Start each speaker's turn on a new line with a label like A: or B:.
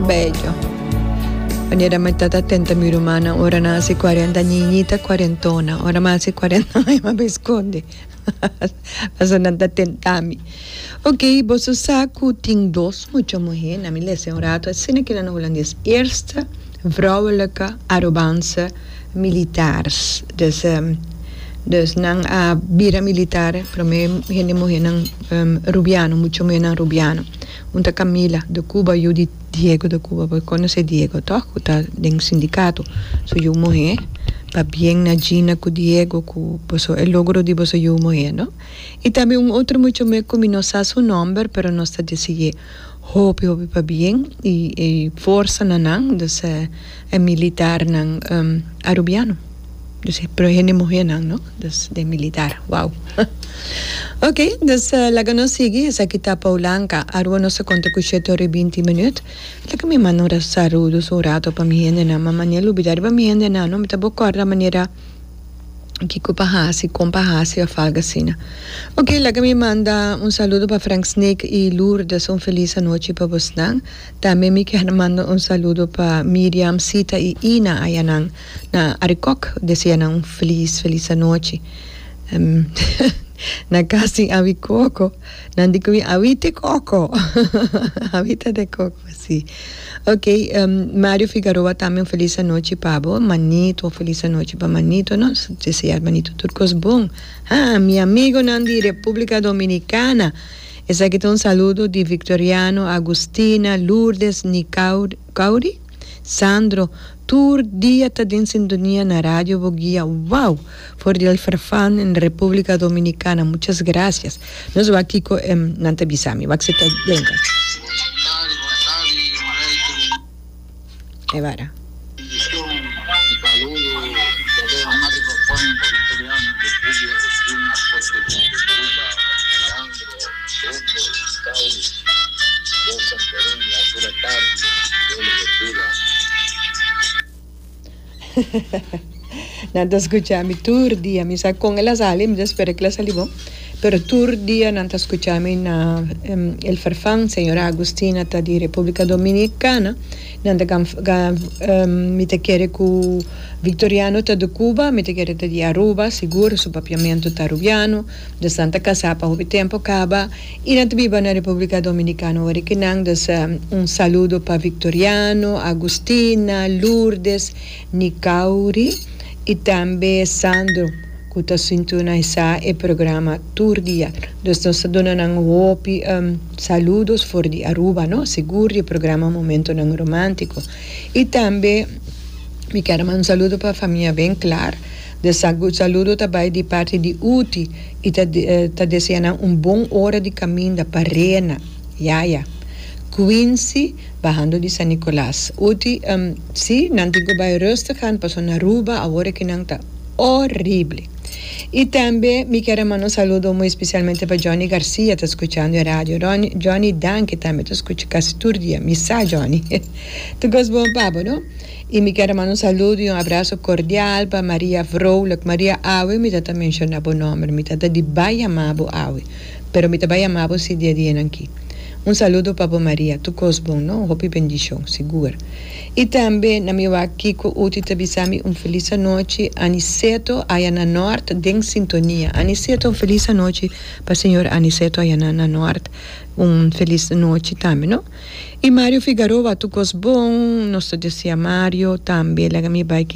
A: Bello. Manera mi tata tenta mi rumannan ora nan hasi cuarenta niñita cuarentona ora mi hasi cuarenta aña mi a bay sconde pasobra nan ta tenta mi. Ok boso sa cu tin dos mucha muhe na mi lesa un rato asina kila na hulandes eerste vrouwelijke Arubaanse militaars dus dus nan a bira militar prome hende muhenan rubiano mucha muhenan rubiano. Un ta Camila de Cuba yu di Diego de Cuba bo conoce Diego toch cu ta den sindicato su yu muhe pabien na Gina cu Diego cu boso e logro di boso yu muhe no y tambe un otro mucha muhe cu mi no sa su nomber pero nos ta deseye hopi hopi pabien y y forsa na nan dus e militarnan Arubiano. Dus pero hende muhernan no, dus den militar, wow. Ok, dus laga nos sigui, esaki ta Poulanka, Aruba nos ta konta ku shete ora i binti minüt. Laga mi manda un saludos un rato pa mi hendenan, ma manera lubida riba mi hendenan no, mi ta bo kòrda manera kiko pa hasi, kon pa hasi òf algu asina. Ok, laga mi manda un saludo pa Frank Snake i Lourdes, un felis anochi pa bosnan. Tambe mi kier manda un saludo pa Miriam, Sita i Ina ayanan. Na Arikok desea nan un felis felis anochi. Na kas tin awi koko, nan di ku mi awite koko, awita de koko si. Ok Mario Figaroa tambe un felis anochi pa bo, Manito un felis anochi pa Manito nos desea Manito tur kos bon. Ha mi amigonan di Republica Dominicana esaki ta un saludo di Victoriano, Agustina, Lourdes, Nicauri, Sandro, Tur dia ta den sintonia na Radio Boguia wow! For di El Farfán en Republica Dominicana muchas gracias. Nos wak kiko nan ta bisa mi wak si ta den.
B: Bon tardi, bon tardi Marijke.
A: E bara.
B: Bendicion y saludo Saludo a Mario Farfán pa Victoriano de Cuba Agustina Costa de Cuba Alejandro Dondo Sauli Rosa Floreña Pura tardi Dios lo bendiga.
A: Nan ta skucha mi tur dia. Mi sa kon el a sali, mi ta spera ku el a sali bon. Pero tur dia nan ta skucha mi na El Farfán. Señora Agustina ta di República Dominicana. Nan ta mi ta kere ku Victoriano ta di Cuba, mi ta kere ta di Aruba, sigur su papiamentu ta Arubiano. Dus nan ta kasá pa hopi tempu kaba. I nan ta biba na Republica Dominicana ora ki nan dus un saludo pa Victoriano, Agustina, Lourdes, Nicauri i tambe Sandro ku ta sintonisá e programa tur dia. Dus nos ta duna nan hopi saludos for di Aruba no, sigur di e programa Momentonan Romántico. I tambe mi kier a manda un saludo pa famia Winklaar. De saludo ta bai di parti di Uti i ta ta desea nan un bon ora di kaminda pa Rena, Yaya, Quincy bahando di San Nicolas. Uti, Si, nan tin ku bai rustig aan pasobra na Aruba awor aki nan ta horrible. I tambe mi kier a manda un saludo muy especialmente pa Johnny Garcia ta skuchando e radio. Johnny danki tambe ta skucha kasi tur dia. Mi sa Johnny. Tur kos bon pa bo no. I mi kier a manda un saludo i un abraso kordial pa Maria Vrolijk. Maria, awe mi ta ta menshona bo nomber. Mi ta ta di bai yama bo awe. Pero mi ta bai yama bo si dia dianan ki. Un saludo pa bo Maria. Tur kos bon, no? Hopi bendishon, sigur. I tambe na mi wak kiko Uti ta bisa mi un felis anochi. Aniceto aya na Nort den sintonia. Aniceto un felis anochi pa señor Aniceto aya na na Nort. Un felis nochi tambe, no? I Mario Figaroa, tur kos bon. Nos ta desea Mario tambe. Laga mi bai ki.